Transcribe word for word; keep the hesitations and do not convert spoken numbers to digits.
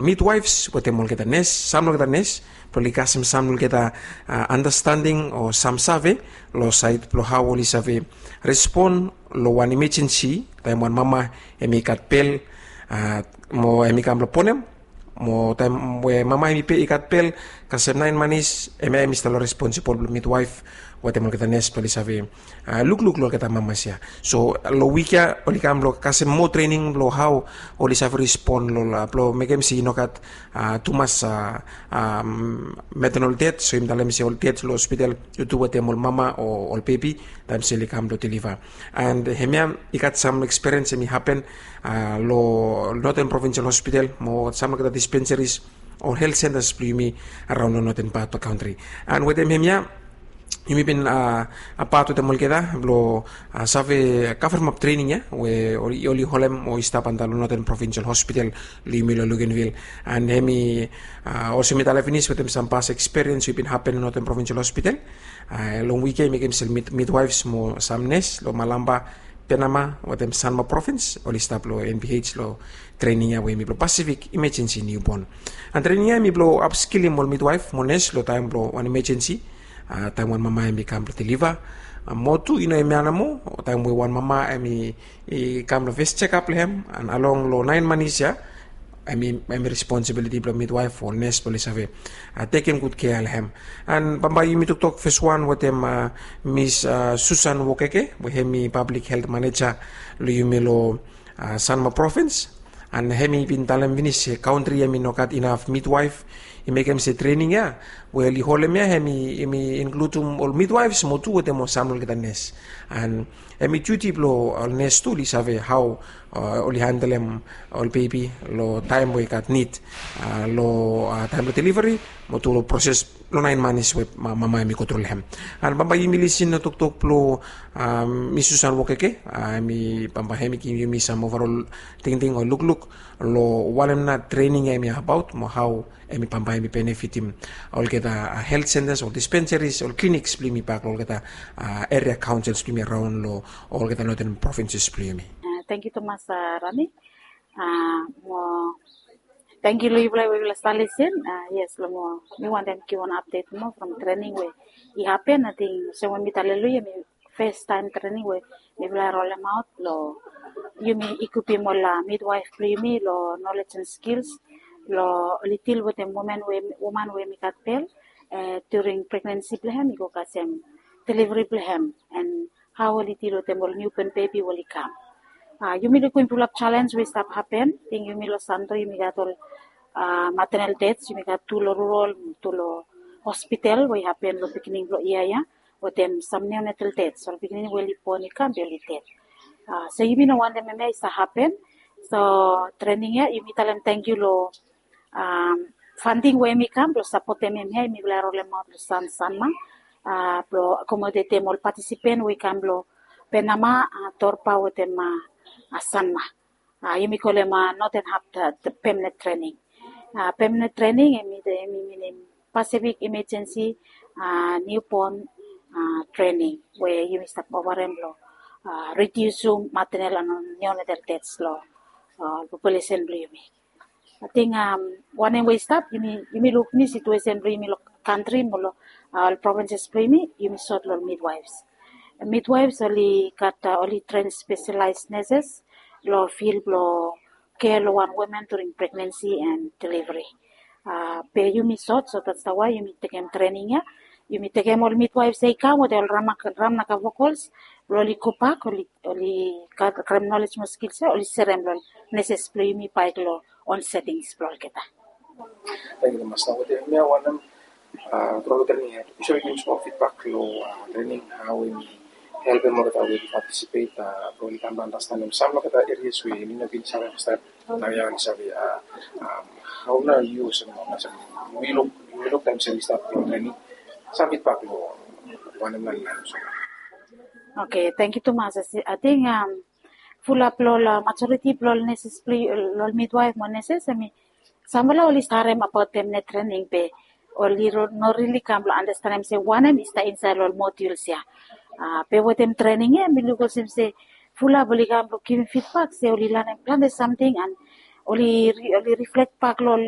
midwaifs wetem olgeta nes, sam olgeta nes, blong oli kasem sam olgeta andastanding o sam save long sait blong hao oli save respon long wan imejensi taem wan mama hemi gat bel, mo hemi kam blong bonem, mo taem we mama hemi pe i gat bel kasem naen manis, hemia hemi stap long responsibol blong midwaif wetem olgeta nes blong oli save lukluk long olgeta mamas ya. So long wik ya oli kam blong kasem moa trening blong hao oli save respon long, blong mekem se i no gat tumas maternal det, so yumi talem se ol det long hospital i tu wetem ol mama o ol bebi taem se oli kam blong deliva. And hemia i gat sam ekspiriens hemi hapen long Northern Provincial Hospital mo sam olgeta dispensaries o health centers blong yumi araon long northern part blong kantri. And wetem hemia yumi bin apat wetem olgeta blong save kavremap trening ya we oli holem o i stap antap long Northern Provincial Hospital long yumi long Luganville. And hemi olsem mi talem finis wetem sam pas ekspiriens we i bin hapen long Northern Provincial Hospital long wik ya i mekem se midwaifs mo sam nes long Malampa, Penama wetem Sanma provins oli stap long NPH long trening ya we hemi blong Pacific Emergency Newborn. And trening ya hemi blong apskilim ol midwaif mo nes long taem blong wan imejensi, taem wan mama hemi kam blong deliva, mo tu i no hemia nomo, taem we wan mama hemi kam long fes jekap blong hem and along long naen manis ya, hemi responsibiliti blong midwaif o nes blong oli save tekem gud kea long hem. And bambae yumi toktok fes wan wetem Miss Susan Wokeke we hemi pablik helt maneja long yumi long Sanma provins. And hemi bin talem finis se kantri hemi no gat inaf midwaif, i mekem se trening ya we oli holem ya hemi inkludum ol midwaifs mo tu wetem ol sam olgeta nes. And hemi diuti blong ol nes tu oli save hao oli handelem ol bebi long taem we i gat nid long taem blong deliveri mo tu long proses long naen manis we mama hemi gotru long hem. And bambae yumi lisin long toktok blong Miss Susan Wokeke, hemi bambae hemi givim yumi sam ovarol tingting o lukluk long wanem nao trening ya hemi abaot mo hao hemi bambae hemi benefitim olgeta helt sentas o dispensaris o kliniks blong yumi bak long olgeta eria kaonsils blong yumi araon long olgeta Northern provinses blong yumi. Tangkiu tumas, Rani. Mo tangkiu long yufala we yufala stap lisin. Yes, long mo mi wantem givim wan apdet moa from trening we i hapen. Ating olsem we mi talem long yu, hemi fes taem trening we mifala i rolemaot long yumi ikupim ol midwaif blong yumi long nolej and skils long oli dil wetem woman we hemi gat bel during pregnansi blong hem i go kasem deliveri blong hem, and hao oli dil wetem ol niuban bebi we oli kam. Yumi lukim fulap jalenj we i stap hapen. Ating yumi long Santo yumi gat ol maternal dets, yumi gat tu long rural, tu long hospital we i hapen long beginning blong yia ya, wetem sam neonatal dets, ol pikinini we oli bon i kam be oli ded. So yumi no wantem hemia i stap hapen. So trening ya yumi talem tangkiu long fanting we hemi kam blong sapotem hemia, yumi bai rolemaot long San Sanma blong akomodetem ol patisipen we i kam long Penama, Torba wetem Sanma. Yumi kolem noten hap permanent trening. Permanent trening hemi minim Pacific Emergency Newborn Training we yumi stap ofarem long ridiusim maternal and neonatal dets long populesen blong yumi. Ating wanem we i stap, yumi luk ni situesen blong yumi long kantri mo long ol provinses blong yumi, yumi sot long midwaifs. Midwaifs oli gat, oli tren spesialaes neses long fil blong kea long wan woman during pregnansi and deliveri. Be yumi sot, so that's the why yumi tekem trening ya. Yumi tekem ol midwaifs ya i kam wetem ol ramnaka vokols blong oli gobak, oli karem nolej mo skils ya oli serem long neses blong yumi bae i go long on setings blong olgeta. Tangkiu tumas. Nao wetem hemia wanem, tru olgeta ni yu save givim smol fidbak long trening, hao hemi helpem olgeta we oli patisipet blong oli kam blong andastanem sam long olgeta erias we oli no bin save fastaem. Nao ya oli save. Hao nao yu olsem, yumi luk taem se oli stap long trening, sam fidbak long wanem nao oli lanem so. Oke, tangkiu tumas. Ating fulap long ol majoriti blong ol neses, blong ol midwaif mo neses, hemi samfala oli stap harem abaot permanent trening be oli no rili kam blong andastanem se wanem i stap insaed long ol moduls ya. Be wetem trening ya mi luk olsem se fulap oli kam blong givim fidbak se oli lanem plante samting and oli oli reflect bak long